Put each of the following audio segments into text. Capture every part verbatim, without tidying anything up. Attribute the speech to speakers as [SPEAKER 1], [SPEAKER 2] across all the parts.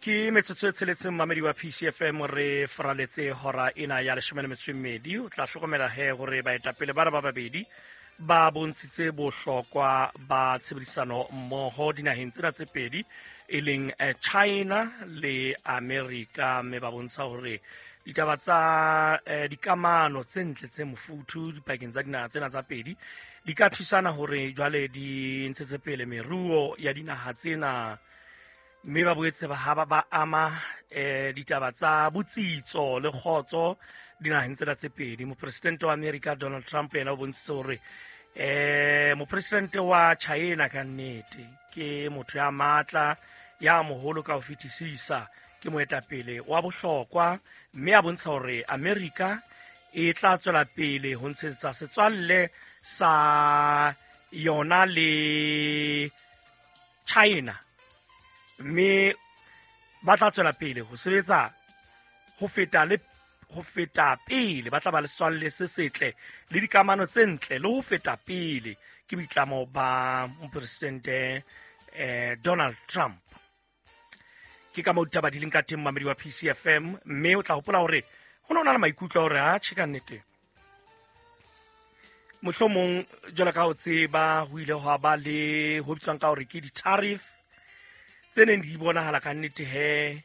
[SPEAKER 1] Ke metsotso e tsheletseng, mamedi wa P C F M, re faraletse hora ena ya leshome le metso e mmedi. O tla hlokomela he hore baetapele bana ba babedi ba bontshitse bohlokwa ba tshebedisano mmoho dinaheng tsena tse pedi, e leng eh, China le America, mme ba bontsha hore ditaba tsa eh, dikamano tse ntle tse mofuthu dipakeng tsa dinaha tsena tsa pedi di ka thusana hore jwale di ntshetse pele meruo ya dinaha tsena, mme ba boetse ba ha ba ba ama eh ditaba tsa botsitso le kgotso dinaheng tsena tse pedi. Mopresidente wa America Donald Trump yena o bontshitse hore eh mopresidente wa China ka nnete ke motho ya matla, ya moholo ka ho fetisisa, ke moetapele wa bohlokwa, mme a bontsha hore America e tla tswela pele ho ntshetsa setswalle sa yona le China, mme ba tla tswela pele ho sebetsa ho feta le ho feta pele. Ba tla ba le setswalle se setle le dikamano tse ntle le ho feta pele. Ke boitlamo ba mopresidente eh, Donald Trump. Ke ka moo ditaba di leng ka teng, mamedi wa P C F M, mme o tla hopola hore ho ne ho na le maikutlo a hore atjhe, ka nnete, mohlomong jwalo ka ho tseba, ho ile hwa ba le ho bitswang ka hore ke di-tariff tse neng di bonahala ka nnete he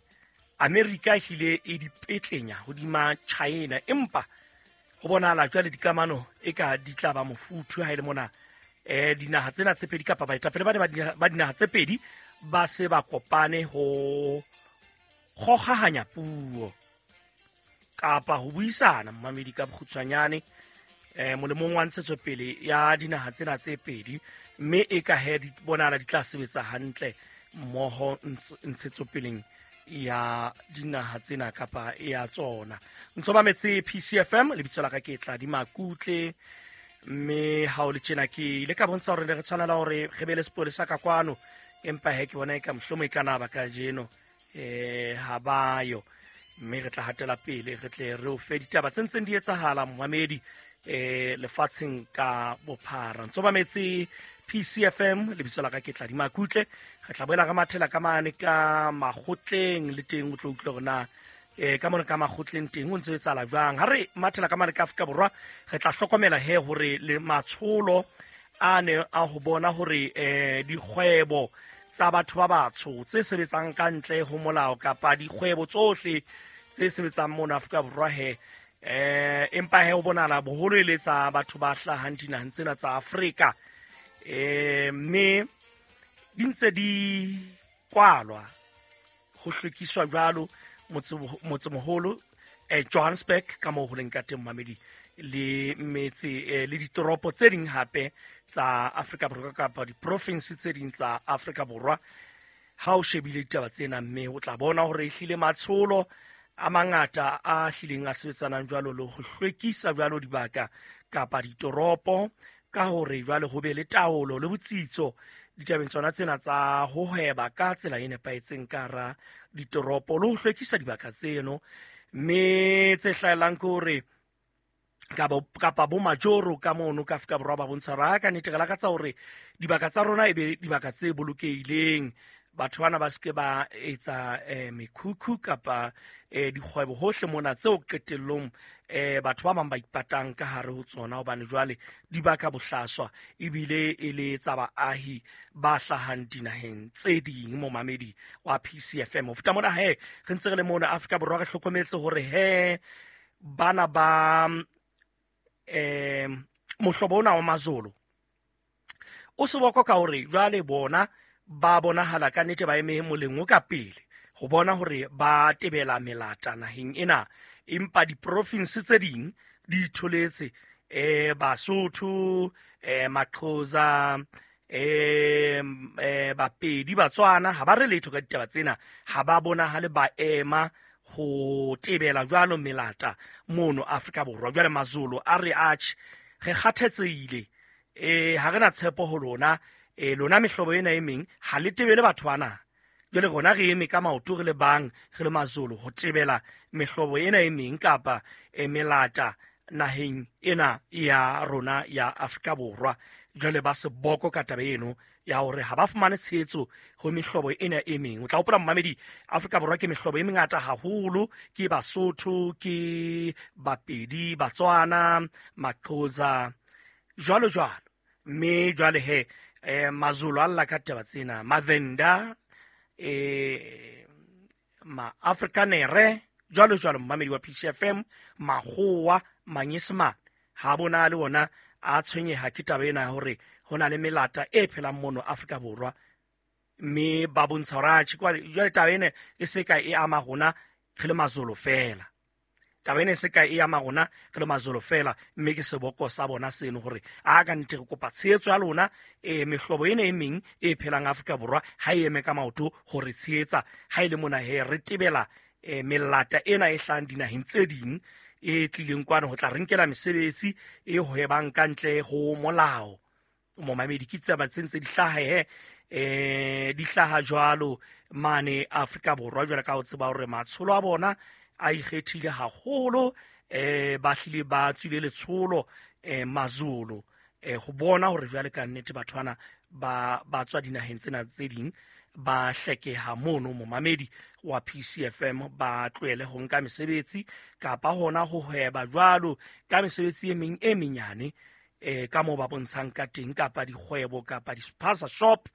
[SPEAKER 1] Amerika ehlile e di petlenya hodima China, empa ho bonahala jwale dikamano e ka di tla ba mofuthu ha e le mona eh dinaha tsena tse pedi kapa baetapele ba ne ba dinaha- ba dinaha tse pedi ba se ba kopane ho kgokgahanya puo kapa ho buisana, mmamedi, ka bokgutshwanyane, eh molemong wa ntshetsopele ya dinaha tsena tse pedi, mme e ka he di bonahala di tla sebetsa hantle mmoho ntsh- ntshetsopeleng ya dinaha tsena kapa ya tsona. Ntso mametse P C F M, lebitso la ka ke Tladi Makutle, mme ha o le tjena ke ile ka bontsha hore ne re tshwanela hore re be le sepolesa ka kwano, empa he ke bona e ka mohlomong e ka na ba kajeno eh ha ba yo, mme re tla hatela pele re tle re o fe ditaba tse ntseng di etsahala, momamedi, eh lefatsheng ka bophara. Ntso mametse P C F M, lebitso la ka ke Tladi Makutle. Re tla boela re mathela ka mane ka makgotleng le teng, o tlo utlwa hore na eh ka mona ka makgotleng teng o ntse o etsahala jwang. Ha re mathela ka mane ka Afrika Borwa, re tla hlokomela he hore le matsholo a ne a ho bona hore eh dikgwebo tsa batho ba batsho tse sebetsang ka ntle ho molao kapa dikgwebo tsohle tse sebetsang mona Afrika Borwa he eh empa he ho bonahala boholo e le tsa batho ba hlahang dinaheng tsena tsa Afrika, eh mme di ntse di kwalwa, ho hlwekiswa jwalo motse- motsemoholo eh, Johannesburg ka moo ho leng ka teng, mamedi, le metse eh, le ditoropo tse ding hape tsa Afrika Borwa kapa diprofinsi tse ding tsa Afrika Borwa. Ha o shebile ditaba tsena, mme o tla bona hore ehlile matsholo a mangata a hlileng a sebetsanang jwalo le ho hlwekisa jwalo dibaka kapa ditoropo ka hore jwale ho be le taolo le botsitso ditabeng tsona tsena tsa ho hweba ka tsela e nepahetseng ka hara ditoropo le ho hlwekisa dibaka tseno, mme tse hlahelang ke hore kapa kapa bo majoro ka mono ka Afrika Borwa ba bontsha hore ha ka nnete re lakatsa hore dibaka tsa rona e be dibaka tse bolokehileng, batho bana ba seke ba etsa eh, mekhukhu kapa eh, dikgwebo hohle mona tseo qetellong eh, batho ba bang ba ipatang ka hare ho tsona, hobane jwale di baka bohlaswa ebile e le tsa baahi ba hlahang dinaheng tse ding. Momamedi wa P C F M, ho feta mona he re ntse re le mona Afrika Borwa, re hlokometse hore he bana ba eh mohlobo ona wa Mazolo o seboko ka hore jwale bona ba bonahala ka nnete ba eme moleng o ka pele ho bona hore ba tebela melata naheng ena, empa diprofinsi tse ding di itholetse, eh Basotho, eh Maxhosa, eh eh Bapedi, Batswana, ha ba re letho ka ditaba tsena, ha ba bonahale ba ema ho tebela jwalo melata mono Afrika Borwa. Jwale Mazolo a re atjhe, re kgathetsehile, eh ha re na tshepo ho lona, eh lona mehlobo ena e meng ha le tebele batho bana. Jwale rona re eme ka maoto re le bang, re le Mazolo, ho tebela mehlobo ena e meng kapa e melata naheng ena ya rona ya Afrika Borwa. Jwale ba seboko ka taba eno ya ya hore ha ba fumane tshehetso ho mehlobo ena e meng. O tla hopola momamedi, Afrika Borwa ke mehlobo e mengata haholo, ke Basotho, ke Bapedi, Batswana, Maxhosa, jwalo jwalo. Mme jwale he eh, Mazulu a lla ka taba tsena, Mavenda, eh, Ma-Afrikanere, jwalo jwalo momamedi wa P C F M, Makgowa, Manyesemane ha bona le ona a tshwenyeha ke taba ena ya hore ho na le melata e phelang mono Afrika Borwa, mme ba bontsha hore atjhe jwale taba ena e se ka e ama rona re le Mazulu fela. Taba ena e se ka e ama rona re le Mazulu fela, mme ke seboko sa bona seno hore a ka nnete re kopa tshehetso ya lona, e mehlobo ena e meng e phelang Afrika Borwa ha e eme ka maoto hore tshehetsa ha e le mona he re tebela e melata ena e hlahang dinaheng tse ding e tlileng kwano ho tla re nkela mesebetsi e hwebang ka ntle ho molao. Momamedi, ke tsaba tse ntse di hlaha he eh di hlaha jwalo mane Afrika Borwa, jwalo ka ho tseba hore matsholo a bona a ikgethile haholo, eh ba hlile ba tswile letsholo eh Mazulu eh ho bona hore jwale ka nnete batho bana ba ba tswa dinaheng tsena tse ding ba hlekeha mono. Momamedi wa P C F M ba tlohele ho nka mesebetsi kapa hona ho hweba jwalo ka mesebetsi e meng e menyane eh ka moo ba bontshang ka teng, kapa dikgwebo kapa di-spaza shop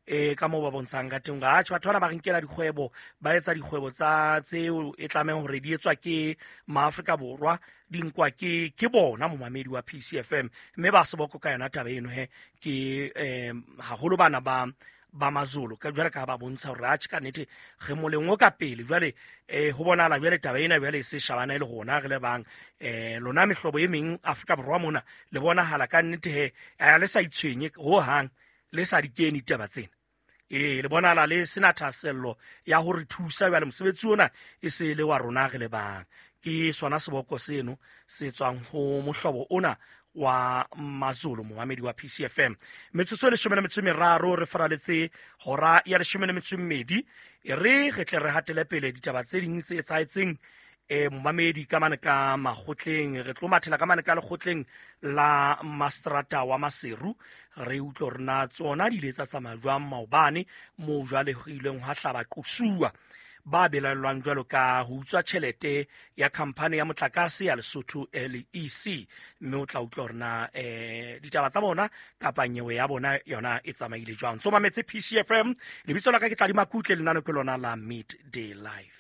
[SPEAKER 1] eh ka moo ba bontshang ka teng. Atjhe, batho bana ba re nkela dikgwebo, ba etsa dikgwebo tsa tseo e tlamehang hore di etswa ke Maafrika Borwa, di nkwa ke ke bona momamedi wa P C F M, mme ba seboko ka yona taba eno he ke eh haholo bana ba ba Mazulu ka jwale ka ba bontsha hore atjhe ka nnete re moleng o ka pele. Jwale eh ho bonahala jwale taba ena jwale e se shabana e le rona re le bang eh lona mehlobo e meng Afrika Borwa mona le bonahala ka nnete he a le sa itshwenye ho hang, le sa di kene ditaba tsena, eh le bonahala le sena thahasello ya hore thusa. Jwale mosebetsi ona e se le wa rona re le bang. Ke sona seboko seno se tswang ho mohlobo ona wa Mazulu, momamedi wa P C F M. Metsotso e leshome le metso e meraro re faraletse hora ya leshome le metso e mmedi, e re re tle re hatele pele ditaba tse ding tse etsahetseng eh momamedi ka mane ka makgotleng. Re tlo mathela ka mane ka lekgotleng la Mastrata wa Maseru, re utlwe hore na tsona di ile tsa tsamaya jwang maobane moo jwale ho ileng hwa hlaba qosuwa ba belaellwang jwalo ka ho utswa tjhelete ya khampani ya motlakase ya Lesotho L E C, mme o tla utlwa hore na eh ditaba tsa bona kapa nyewe ya bona yona e tsamaile jwang. Tso mametse P C F M, lebitso la ka ke Tladi Makutle, lenano ke lona la Midday Life.